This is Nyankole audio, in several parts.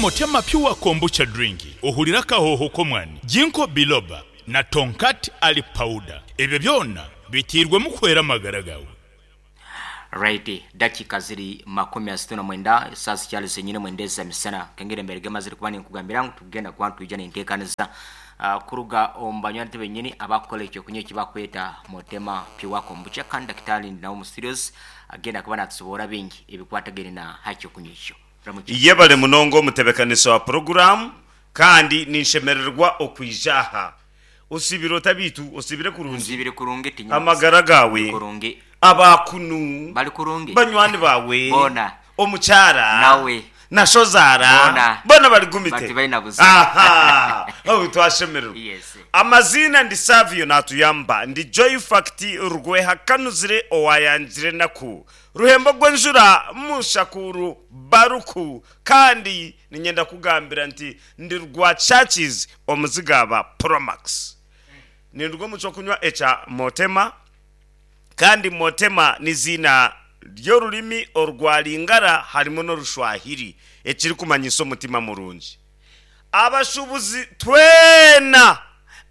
Motema Pure Kombucha Drink, ohurire akahooho k'omwani, Ginkgo Biloba na Tongkat Ali Powder. Ebyo byona biteirwemu kuhwera amagara gaawe. Right, dakiika ziri 39, esaaha zikyari zenyine mwenda eza misana. Nkengeri embere gemazire kuba ninkugambira ngu tugenda kuba nitwija nenteekaniza kuruga omu banywani benyini abakukora ekyokunywa eki bakweta Motema Pure Kombucha kandi Dakitari ndi nawe omu studios agenda kuba natusoboora bingi ebikwatagaine na ha kyokunywa ekyo. Ramukye. Yebare munonga omutebekanisa wa puroguraamu kandi ninshemererwa okwija aha. Osiibire ota beitu? Osiibire kurungi? Nsiibire kurungi tinyine Amagara buzibu. gaawe? Ndi kurungi. Aba kunu? Bari kurungi. Banywani baawe? Boona. Omukyara? Nawe. Na shozaara? Boona. Boona bari gumite? Bati baine buzibu. Aha! Obu twashemererwa. Yes. Amaziina ndi Savio Natuyamba, ndi Joy Fact Rwehakanuzire owayangire enaku. Ruhembo gw'enjura Mushakuru Baruku kandi niinyenda kugambira nti ndi rwa Churches omuzigaaba Promax. Ninduga omu ky'okunywa ekya Motema kandi Motema n'iziina ry'orurimi orwa Lingala harimu n'Orushwahiri ekirikumanyisa omutima murungi. Abashuubuzi twena,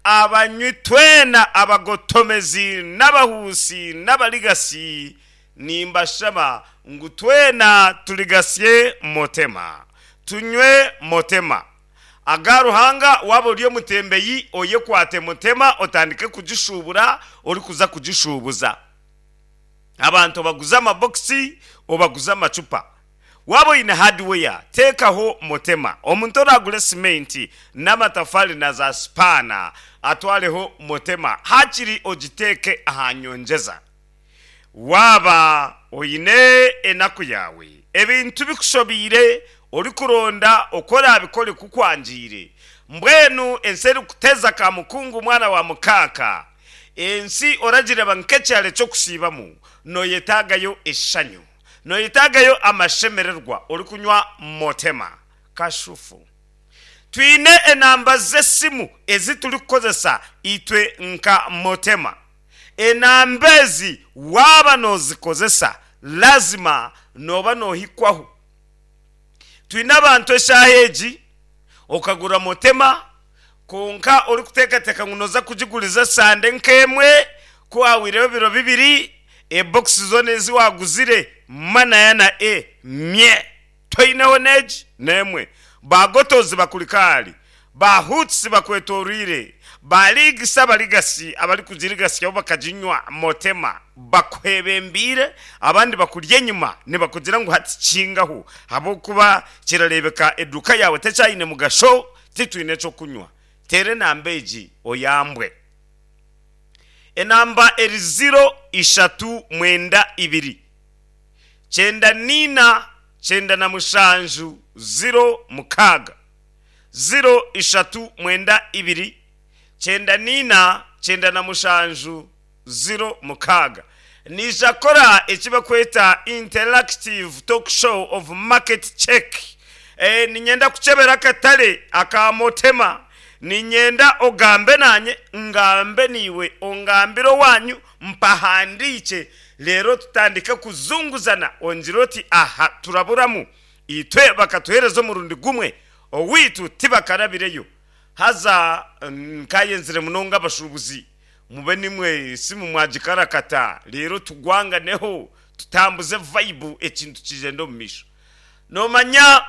abanywi twena, abagotomezi n'abahuusi n'abarigatsi, nimbashaba ngu twena turigatsye Motema, tunywe Motema. Aga Ruhanga waaba ori omutembeyi oyekwate Motema otandike kugishuubura orikuza kugishuubuza. Abantu obaguze amabokisi, obaguze amacupa. Waaba oine hardware, teekaho Motema. Omuntu oraagure simenti n'amatafaari na za sipaana, atwareho Motema haakiri ogiteeke aha nyongyeza. Waaba oine enaku yaawe, ebintu bikushobeire, orikuronda oku oraabikore kukwangiire, mbwenu ensi erikuteza kamukungu mwana wa mukaaka, ensi oragireeba nk'ekyaro ky'okusiibamu, nooyetaagayo eshanyu. Noyetagayo amashemererwa orikunywa Motema. Kashufu. Twine enamba z'esimu ezi turikukozesa itwe nka Motema. Enamba ezi waaba nozikozesa lazima nooba nohikwaho. Twine abantu eshaaha egi okagura Motema kwonka orikuteekateeka ngu noza kugiguriza esande nk'emwe, ku hahwireho ebiro bibiri, ebokisi zoona ezi waaguzire manaya na e mye, toineho n'egi n'emwe. Ba Gotozi bakuri kaari, ba Huts bakwetooroire, ba Ligisi abarigasi abarikugirigasyaho bakaginywa Motema bakwebembeire, abandi bakuri enyima nibakugira ngu hati kingaho ahabw'okuba kirareebeka eduuka yaawe tekyaine mugasho. Titwine ky'okunywa. Teera enamba egi oyambwe. Enamba eri ziro ishatu mwenda ibiri, kyenda naina, 97, 06. Ziro ishatu mwenda ibiri, 94, 97, 06. Naija kukora eki barikweta Interactive Talk Show of Market Check. Niinyenda kukyebera akatare aka Motema. Niinyenda ogambe naanye, ngambe naiwe, ongambire owaanyu, mpahandiikye, reero tutandike kuzunguzana, ongire oti aha turaburamu, itwe bakatuheereza omurundi gumwe, owaitu tibakarabireyo. Haza nkaayenzire munonga abashuubuzi Mube nimwe esimu mwagikarakata reero tugwanganeho tutambuze vibe ekintu kigyende omu maisho. Nomanya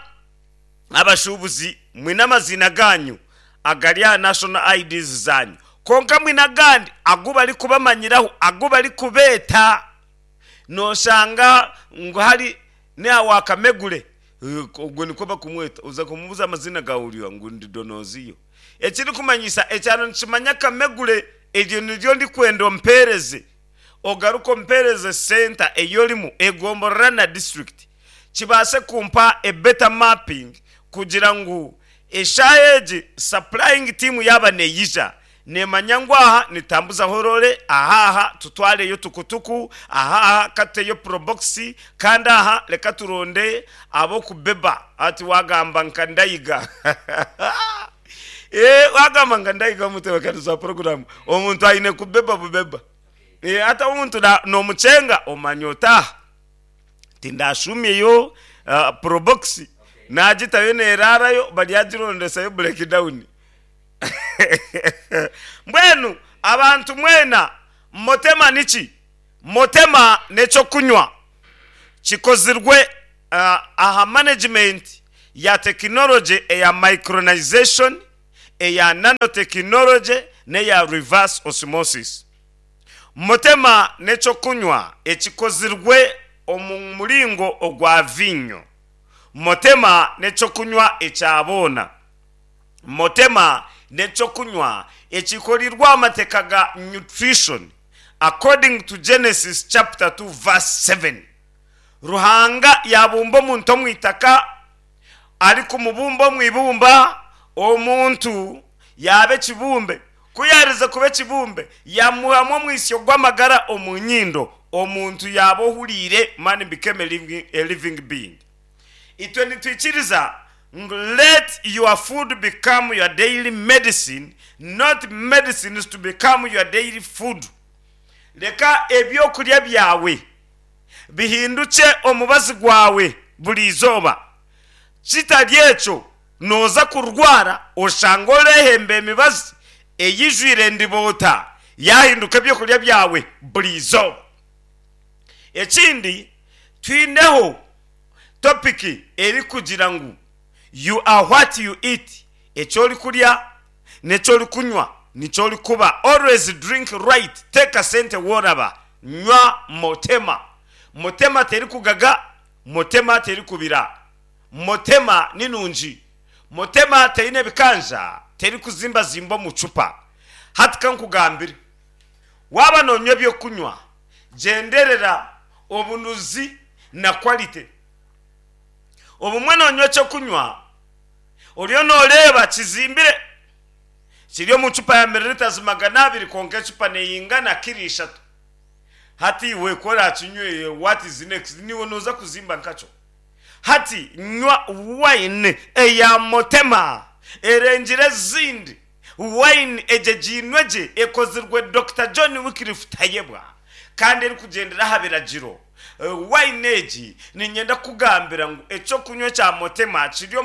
abashuubuzi mwine amaziina gaanyu agari aha national IDs zaanyu kwonka mwine agandi agu barikubamanyiraho agu barikubeeta. Noshanga ngu hari n'aha wa Kamegure ogwo nikwo barikumweta oza kumubuuza amaziina gaawe ori oha ngu ndi Donoziyo. Ekirikumanyisa, ekyaro nikimanya Kamegure, eryo niryo ndikwenda ompeereze, ogaruke ompeereze senta ei orimu, egomborora na disiturikiti, kibaase kumpa a better mapping kugira ngu eshaaha egi supplying team yaaba neija, neemanya ngu aha nitutambuzaho roore, aha aha tutwareyo tukutuku, aha aha ka tuteyo probox, kandi aha reka turonde ab'okubeba. Hati waagamba nka Ndaiga. Ee, waagamba nka Ndaiga omutebeekanisa wa puroguraamu, omuntu aine kubeba bubeba. Ee, hati omuntu noomukyenga omanya oti aha tindashuumyeyo probox. Naagitayo neeraarayo baryagirondesayo breakdown. Mbwenu abantu mwena Motema niki? Motema n'eky'okunywa kikozirwe aha management ya tekinologye eya micronization, eya nanotechnology n'eya reverse osmosis. Motema n'eky'okunywa ekikozirwe omu muringo ogwa viinyo. Motema n'eky'okunywa ekya boona. Motema n'eky'okunywa ekikorirwe aha mateeka ga nutrition according to Genesis chapter 2 verse 7. Ruhanga yaabumba omuntu omu itaka, arikumubumba omu ibumba, omuntu yaaba ekibumbe. Ku yaarize kuba ekibumbe, yaamuhamu omwitsyo gw'amagara omu nyindo, omuntu yaaba ohuriire, man became a living being. Itwe nitwikiriza ngu let your food become your daily medicine, not medicines to become your daily food. Reka eby'okurya byawe bihindukye omubazi gwawe buri izooba. Kitari ekyo, nooza kurwara oshange oreehemba emibazi eijwire endiboota yaahinduka eby'okurya byawe buri izooba. Ekindi, twineho topiki erikugira ngu You are what you eat, eki orikurya n'eki orikunywa nikyo orikuba, always drink right, teeka sente woraba, nywa Motema. Motema terikugaga, Motema terikubira, Motema ni nungi, Motema teine bikanja, terikuzimbazimba omu cupa. Hati kankugambire, waaba nonywa ebyokunywa, gyenderera obunuzi na quality. Obumwe nonywa ekyokunywa oriyo noreeba kizimbire, kiri omu cupa ya mililitazi 200 kwonka ecupa neyingana kiro ishatu. Hati iwe ku orakinywe what is next? Niiwe noza kuzimba nkakyo. Hati nywa wine eya Motema erengire ezindi. Wine egyegiinwe gye ekozirwe Dokita John Wycliffe Tayebwa kandi erikugyendera aha biragiro. Wine egi niinyenda kukugambira ngu eky'okunywa ekya Motema kiri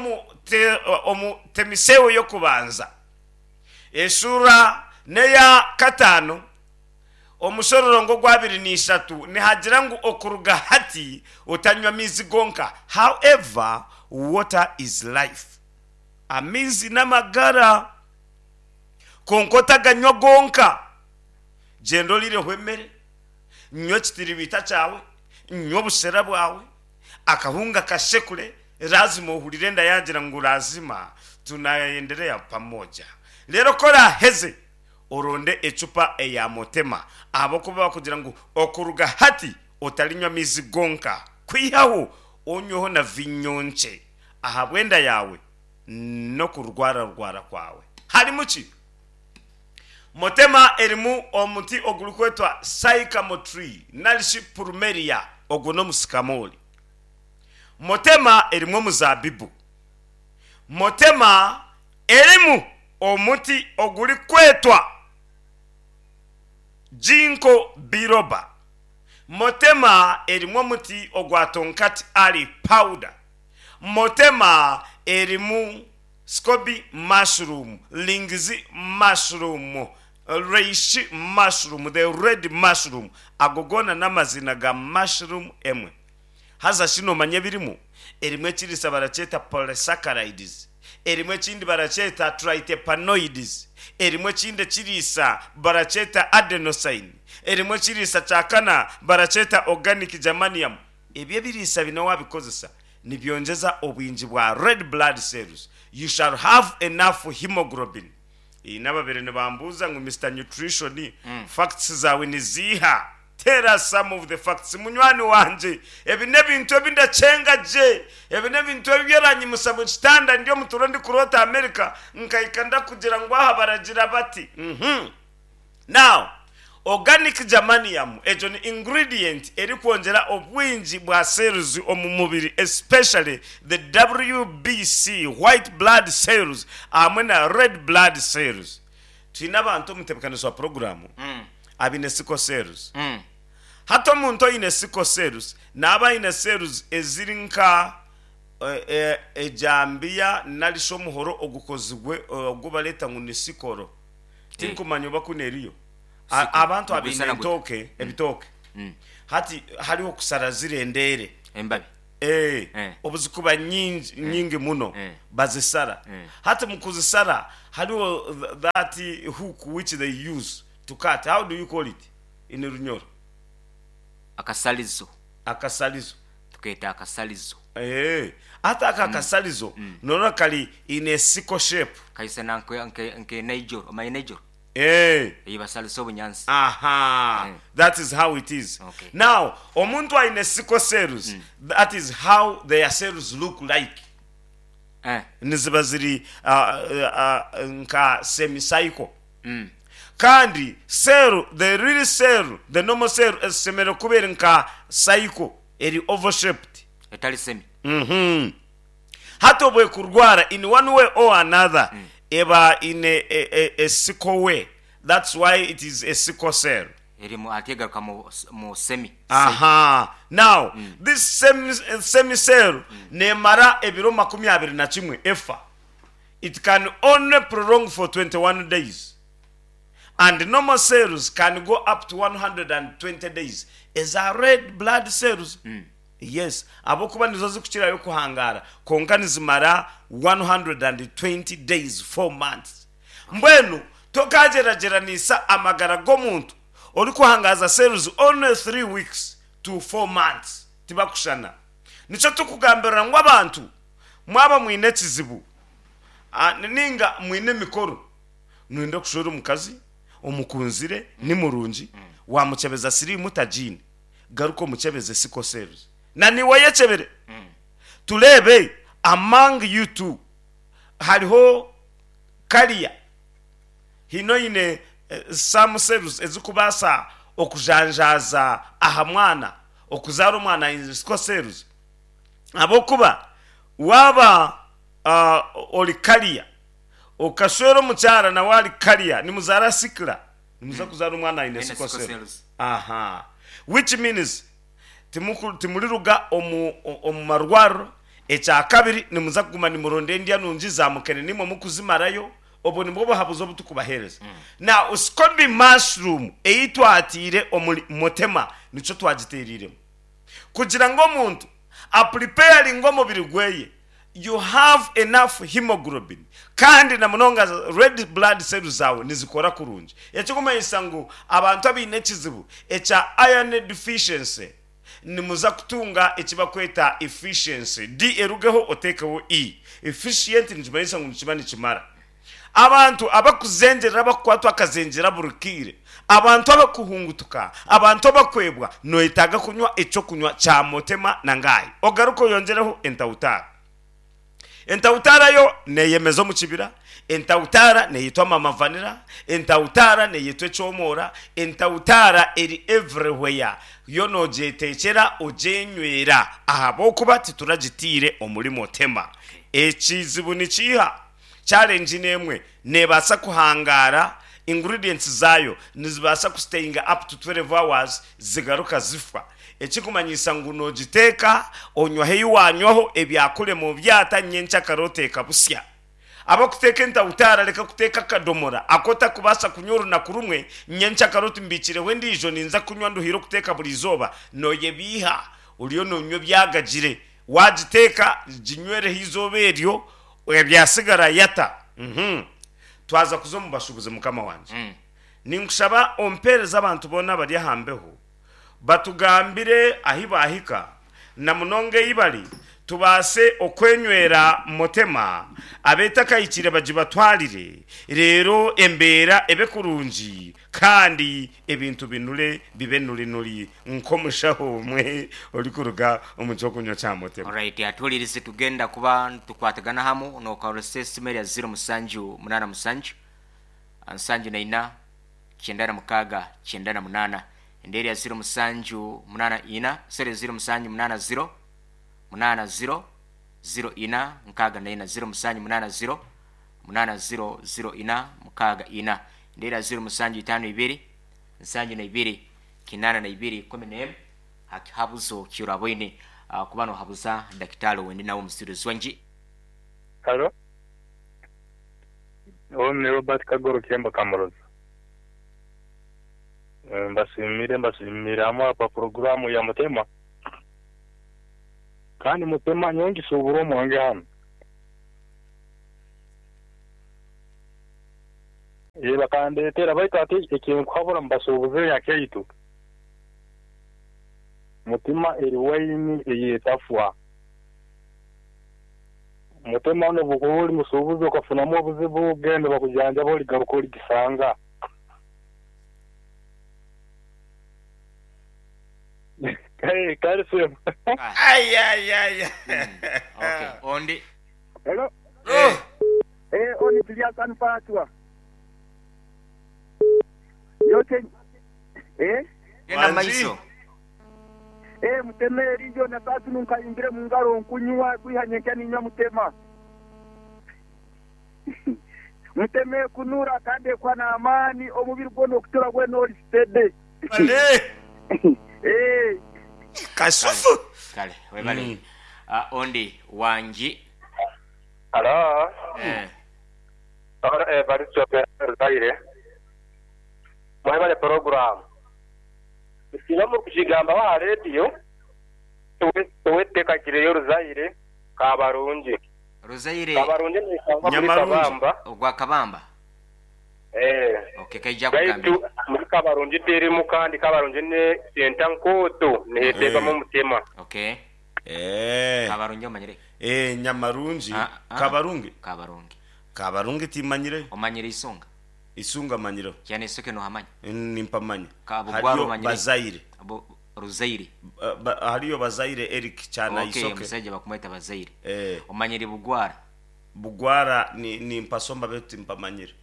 omu Temiseewo y'okubanza eshuura n'eya kataano omushororongo ogw'abiri n'ishatu nihagira ngu okuruga hati otanywa amaizi gonka, however, water is life. Amaizi n'amagara, kwonka otaganywa gonka. Gyenda oriireho emere, nywa ekitiribiita kyawe, nywa obushera bwawe, akahunga kashekure, lazima ohurire enda yaagira ngu lazima tunaendelea pamoja. Reero ku oraaheze, oronde ecupa eya Motema ahabw'okuba bakugira ngu okuruga hati otarinywa amaizi gonka, kwihaho onyweho na viinyo nkye. Ahabw'enda yaawe n'okurwararwara kwawe. Harimu ki? Motema erimu omuti ogurikwetwa sycamore tree nari shi plumeria, ogwo n'omusikamoori. Motema erimu omuzaabibu. Motema erimu omuti ogurikwetwa ginkgo biloba. Motema erimu omuti ogwa tonkat ali powder. Motema erimu scoby mushroom, lingzhi mushroom, reishi mushroom, the red mushroom. Ago goona n'amaziina ga mushroom emwe. Haza shi noomanya ebirimu? Erimu ekiriisa barakyeta polysaccharides, erimu ekindi barakyeta triterpenoids, erimu ekindi ekiriisa barakyeta adenosine, erimu ekiriisa kya kana barakyeta organic germanium. Ebi ebiriisa bine wabikozesa nibyongyeza obwingi bwa red blood cells, you shall have enough hemoglobin. Haine ababaire nibambuuza ngu Mister Nutrition facts zaawe niziiha? Tell us some of the facts munywani wangye. Ebi n'ebintu ebi ndakyenga gye. Ebi n'ebintu ebi oranyimusa mu kitanda ndi omu turo ndikuroota America nkahika ndakugira ngu aha baragira bati. Uhmm. Now, organic germanium egyo ni ingredient erikwongyera obwingi bwa cells omu mubiri especially the WBC, white blood cells, hamwe na red blood cells. Twine abantu omu ntebekanisa wa puroguraamu abaine sickle cells. Hati omuntu oine sickle cells naaba aine cells eziri nka. Ejambiya nari shi omuhoro ogukozirwe ogu bareeta ngu ni sikoro. Tinkumanya oba kunu eriyo. Abantu abaine entooke, ebitooke, hati hariho okushara ziri endeere. Embabi. Obu zikuba nyingi, nyingi muno, bazisara. Hati mu kuzisara hariho that hook which they use to cut, how do you call it in Runyoro? Akasarizo. Akasarizo. Tukeeta akasarizo. Eeh, hati ako akasarizo norora kari in a sickle shape. Kaisana nke naijoro, omanya naijoro? Eeh. Ei basarisa obunyansi. Aha, that is how it is. Okay. Now, omuntu aine sickle cells, that is how their cells look like. Eh. Niziba ziri nka semi-cycle. Kandi cell, the real cell, the normal cell eshemereire kuba eri nka cycle, eri oval shaped. Etari semi. Mhm. Hati obu ekurwara in one way or another eba in a, a, a, a sickle way. That's why it is a sickle cell. Erimu hati egaruka mu, mu semi. Aha. Now, this semi, semi cell nemara ebiro 21 efa. It can only prolong for 21 days and normal cells can go up to 120 days eza red blood cells yes ahabw'okuba nizo zikukirayo kuhangaara kwonka nizimara 120 days, 4 months. Mbwenu tokagyeragyeranisa amagara g'omuntu orikuhangaaza cells only 3 weeks to 4 months tibakushushana. Nikyo turikugambirira ngu abantu Mwaba mwine ekizibu ninga mwine emikoro, noyenda kushwera omukazi omukunzire, ni murungi, wamukyebeza siriimu tagiine, garuka omukyebeze sickle cells. Na niiwe oyekyebere tureebe among you two hariho carrier, haine oine some cells ezikubaasa okujanjaaza aha mwana, okuzaara omwana aine sickle cells. Ahabw'okuba waaba ori kariya, okashwera omukyara nawe ari kariya, nimuzaara sikila, nimuza kuzaara omwana aine sickle cell. Aha. Which means timuriruga omu omu marwariro. Ekyakabiri, nimuza kuguma nimuronda endya nungi za mukene naimwe mukuzimarayo. Obwo nibwo buhabuzi obu turikubaheereza. Now, SCOBY mushroom ei twataire omuri Motema nikyo twagiteereiremu. Kugira ngu omuntu apuripeyaringe omubiri gweye, you have enough hemoglobin kandi na munonga red blood cells zaawe nizikora kurungi. Ekirikumanyisa ngu abantu abaine ekizibu ekya iron deficiency nimuza kutunga eki barikweta efficiency, D erugeho oteekeho E. Efficient nikimanyisa ngu nikiba nikimara. Abantu abakuzengyerera abakukwatwa akazengyera buri kaire, abantu abakuhungutuka, abantu abakwebwa, noyetaaga kunywa ekyokunywa kya Motema na Ngahi. Ogaruke oyongyereho Entautara. Entautara yo neyemeza omu kibira, Entautara neyetwa Mama Vanilla, Entautara neyetwa Ekyomoora, Entautara eri everywhere, yo nogyetekyera ogyenywera ahabw'okuba tituragitiire omuri Motema. Ekizibu nikiiha? Challenge n'emwe nebaasa kuhangaara, ingredients zaayo nizibaasa ku stayinga up to 12 hours zigaruka zifa. Ekirikumanyisa ngu nogiteeka, onywaho ei wanywaho, ebyakurema obyata, nyenkyakare oteeka busya. Abakuteeka entawutaara reka kuteeka akadomora aku otakubaasa kunywa orunaku rumwe, nyenkyakare oti mbiikireho endiijo ninza kunywa nduhire okuteeka buri izooba, noyebiiha oriyo nonywa ebyagagire. Wagiteeka ginywereho eizooba eryo, Ebyatsigara yata. Uhmm. Twaza kuza omu bashuubuzi mukama wangye. Ninkushaba ompeereze abantu boona abari aha mbeho batugambire ahi baahika na munonga ei bari tubaase okwenywera Motema abeetakahikire bagibatwarire reero embeera ebe kurungi Kandi ebintu binure bibe nurinuri nk'omushaho omwe orikuruga omu ky'okunywa kya Motema. Alright atuhuririze tugenda kuba nitukwatagana hamu nokoresa esimu erya ziro musanju munana musanju nsanju na ina kyenda na mukaga kyenda na munana ende erya ziro musanju munana ina sorry ziro musanju munana ziro munana ziro ziro ina nkaga na ina ziro musanju munana ziro munana ziro ziro ina mukaga ina. Ndeera ziro musanju itaano ibiri, nsanju na ibiri, kinaana na ibiri, 11 ha kihabuzo ky'oraboine. kuba nohabuza dakitaali owendi nawe omusiruzi wangi. Halo. Onu ni Robert Kagoro Kyemba Kamuroza. Mbasiimire mbasiimire hamwe aha puroguraamu ya Mutema. Kandi Mutema nyowe ngisuubura omwange hanu. Ee bakandeetera baitu hati ekinkuhabura mubasuubuzi enyakaitu, Mutima eri waini ey'etafwa. Mutima n'obu okuba ori musuubuzi okafunamu obuzibu, genda bakujanjabe origaruka origisanga. Kare sebo. Ayayaya. Okay, ondi. Hello. Eh. Eh, oni Julius Anfatwa. Yote eh Genda maiso. Eh, mutema eriyo na sasa nunkayimbire mu ngaro nkunywa kwiha nyenkya ninywa mutema. Muteme kunura kandi ekwa n'amaani omubiri gwona okutura gwena ori steady. Bale. Eh. Kasufu. Kale, webale. Ah, ondi wangi. Halo. Eh. Ono Evaristo Ruzaire. Mwebale puroguraamu. Singa murikugigambaho aha rediyo, ow'eteekakireyo Ruzaire Kabarungi. Ruzaire Kabarungi neeshangwa muri Nyamarungi. Kabamba. Ogwa Kabamba. Eh. Okay, kaija Baitu kugambira. muri Kabarungi terimu kandi Kabarungi ne senta nkooto neheteebwamu omutima. Okay. Eh. Kabarungi omanyire. Eh, Nyamarungi. Ah, ah. Kabarungi. Kabarungi. Kabarungi timanyire. Omanyire isunga. Isunga manyire. Kyane isoke nohamanya. Nimpamanya. Kabugwaro Hariyo omanyire. Bazaire. Ruzaire. Hariyo Bazaire Eric Kyana Okay, Isoke. omusaija bakumweta Bazaire. Eh. Omanyire Bugwara. Bugwara ni nimpasomba betu timpamanyire.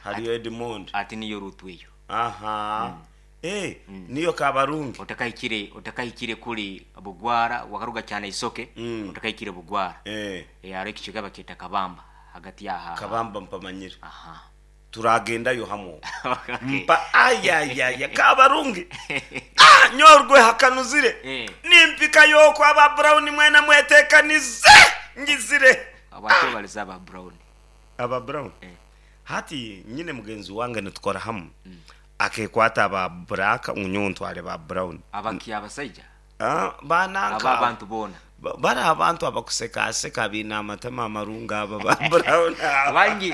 Hariyo Edmond. Ati niyo rutu eyo. Aha. Eh, niyo Kabarungi. Otakahikire otakahikire kuri Bugwara wakaruga cyane isoke otakahikire Bugwara. Eh. Eh, hariho ekicweka bakyeta Kabamba hagati yaha. Kabamba mpamanyire. Aha. Turagendayo hamwe. Okay. Mpa ayayaya Kabarungi. Ah, nyorwe hakanuzire. Eh. Nimpika yoko aba Brown mwena mwetekanize ngizire. Abantu baliza aba Brown. Aba Brown. Eh. Hati nyine mugenzi wange nitukora hamwe. Akekwata aba black unyo ntware ba Brown. Abaki abasaija. Ah, bananka. Aba abantu bona. Bari abantu abakusekaseka biine amatama amarunga aba ba Brown. Wangi.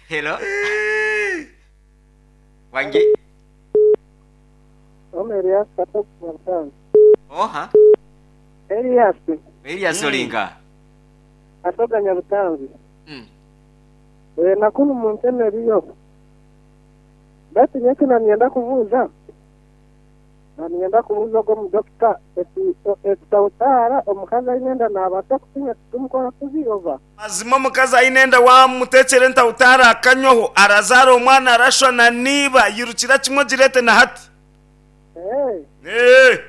Hello. Wangi. Ome Elias Katoku Nyabutanzi. Oha. Elias Elias Olinga. Katoga Nyabutanzi. Eh, nakunu munteme eriyo. Baitu nyeki nanienda kubuuza. Nanienda kubuuza ogwo omudokita ekitautaara omukazi aine enda naabaasa kukinywa tikumukora kubi oba? Mazima omukazi aine enda wamutekyera entautaara akanywaho arazaara omwana arashwa na niiba yirukira kimwe ogireete na hati. Eh. Eh.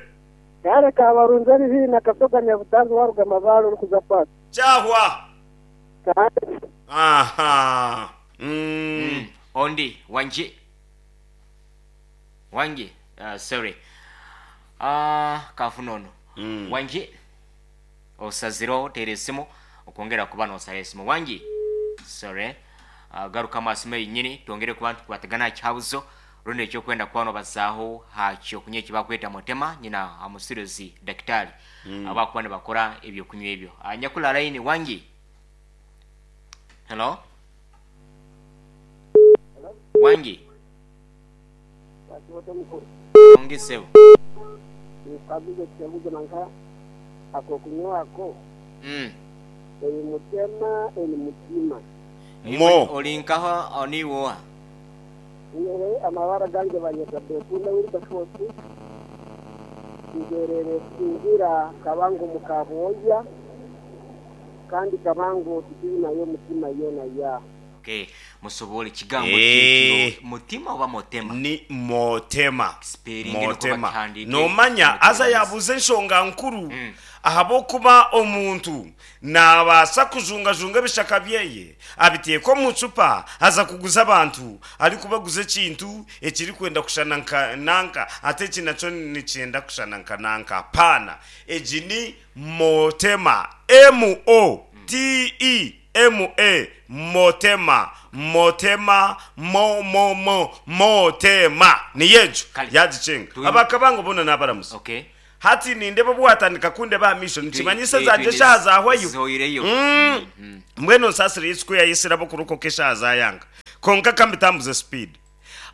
Kare kabarunze eri haihi na Kasoga Nyabutanzi waruga Mabaare orikuza Paaka. Kyahwa. Kare. Aha. Ondi wangi. Wangi. Sorry. Kafuna ono. Wangi. Osazireho teera esimu okwongera kuba nosara esimu. Wangi. Sorry. Garuka amaso yenyini twongere kuba tukwatagana aha kihabuzo rundi ekyokwenda kuba nobazaaho ha kyokunywa ekibakweta mutema nyina amusiruzi dakitari abakuba nibakora ebyokunywa ebyo. Nyakula line wangi. Hello. Wangi. Wangi sebo. Nikabuze kibuzo nanka akokunywa ako. Eri mutema eri mutima. Mo. Olinkaho oniwoha. Nyewe amabara gange banyeta Bekunda Wilberforce. Ngerere singira Kabango mukaboya. Kandi Kabango tutiri nayo mutima yona ya. Okay. Musobole ekigambo Eh. kyekyo mutima oba motema? Ni motema. Spelling niko Motema. bakihandiike. Nomanya aza yabuuza enshonga nkuru, ahabw'okuba omuntu nabaasa kujungajunga ebishaka byeye abiteeka omu cupa aza kuguza abantu, arikubaguza ekintu ekirikwenda kushana nka nanka, ate eki nakyo nikyenda kushana nka nanka. Paana egi ni motema, M O T E M A, motema, motema, mo mo mo motema, niyo egyo. Kale. Yagicenga. Abakabango boona nabaramusa. Okay. Hati nindeba obu watandika kundeba aha maisho, nikimanyisa zangye eshaaha zahwayo. Zoireyo. Mbwenu nsaasire Yesu ku yayetsire ab'okurokoka eshaaha zaayanga. Kwonka ka mbitambuze speed.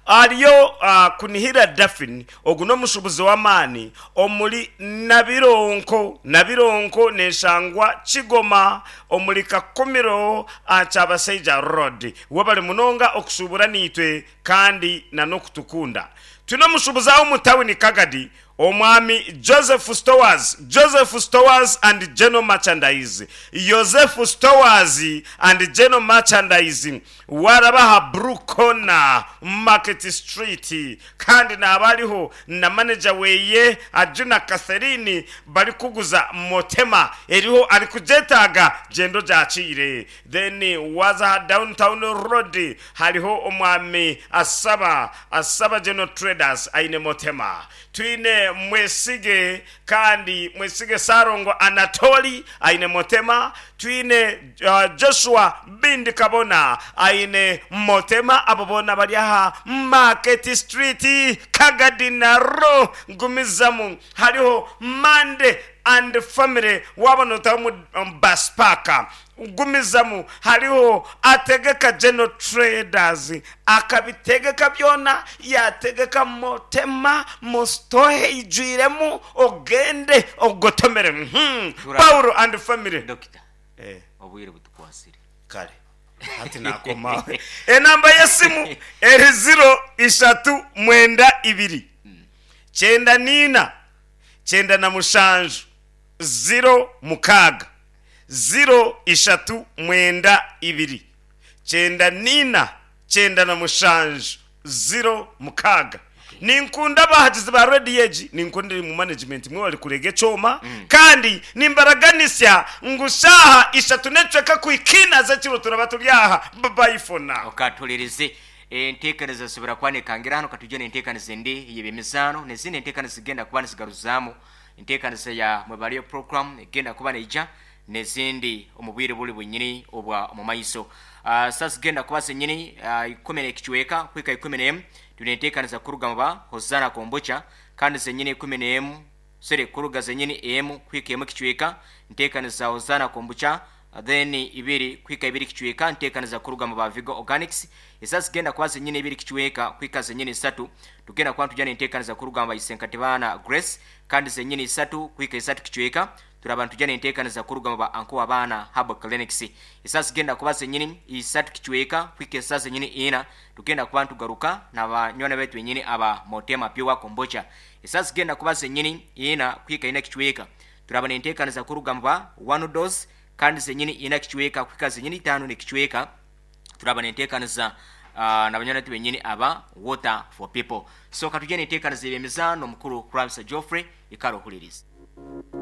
Hariyo Kunihira Daphine, ogu n'omushuubuzi w'amaani omuri Nabironko. Nabironko neeshangwa Kigoma omuri Kakumiro aha Kyabasaija Road. Webare munonga okushuubura naitwe kandi n'okutukunda. Twine omushuubuzi aha omu tawuni Kagadi, Omwami Joseph Stowers, Joseph Stowers and General Merchandise, Yosefu Stowers and General Merchandise, waaraba aha Blue Corner Market Street, kandi naaba ariho na maneja weye Ajuna Catherine barikuguza Motema eriho arikugyetaaga gyenda ogyakiire. Then waaza aha Down Town Road hariho Omwami Asaba, Asaba General Traders aine Motema. Twine Mwesige kandi Mwesige Ssalongo Anatoli aine Motema, twine Joshua Bindi Kabona aine Motema, abo boona bari aha Market Street Kagadi Naro. Gumizamu hariho Mande and Family waaba nootaha omu Bus Park. Gumizamu hariho Ategeka General Traders akabitegeka byona yategeka motema musitohe eijwiremu ogende ogotomere. Paul and family. Dokita, Eh. obwire butukwasire. Kare hati nakoma aho. Enamba y'esimu eri ziro ishatu mwenda ibiri kyenda n'ina 97 06, 0 ishatu mwenda ibiri 94 97 06. Ninkunda abahagizi ba rediyo egi, ninkunda eri mu management mwebare kurega ekyoma, kandi nimbaraganisa ngu shaaha ishatu n'ekicweka kuhika ina z'ekiro turaba turi aha. Bye for now. Okatuhuririze. Enteekaniza zisobora kuba nekangira hanu katwije n'enteekaniza endi ey'eby'emizaano n'ezindi enteekaniza zigenda kuba nizigaruzaamu enteekaniza ya Mwebaleyo Program egenda kuba neija n'ezindi omu bwire buri bwenyini obwa omu maiso. Saaha zigenda kuba zenyini ikumi n'ekicweka kuhika 11 twine enteekaniza kuruga mu ba Hosanna Kombucha, kandi zenyini 11, sorry, kuruga zenyini emu kuhika emu ekicweka nteekaniza Hosanna Kombucha, then ibiri kuhika ibiri kicweka nteekaniza kuruga mu ba Vigo Organics. Esaaha zigenda kuba zenyini ibiri kicweka kuhika zenyini isatu tugenda kuba nitujya n'enteekaniza kuruga mu ba Isenkatibana Grace, kandi zenyini isatu kuhika isatu kicweka turaba nitujya n'enteekaniza kuruga mu ba Anko Abaana Herbal Clinics. Esaaha zigenda kuba zenyini isatu kicweka kuhika esaaha zenyini ina tugenda kuba nitugaruka na banywani baitu benyini aba Motema Pure Kombucha. Esaaha zigenda kuba zenyini ina kuhika ina kicweka turaba n'enteekaniza kuruga mu ba One Dose, kandi zenyini ina kicweka kuhika zenyini itaano n'ekicweka turaba n'enteekaniza na banywani baitu benyini aba Water for People. So katujye n'enteekaniza y'eby'emizaano, omukuru Kurabisa Geoffrey, ikara ohuririze.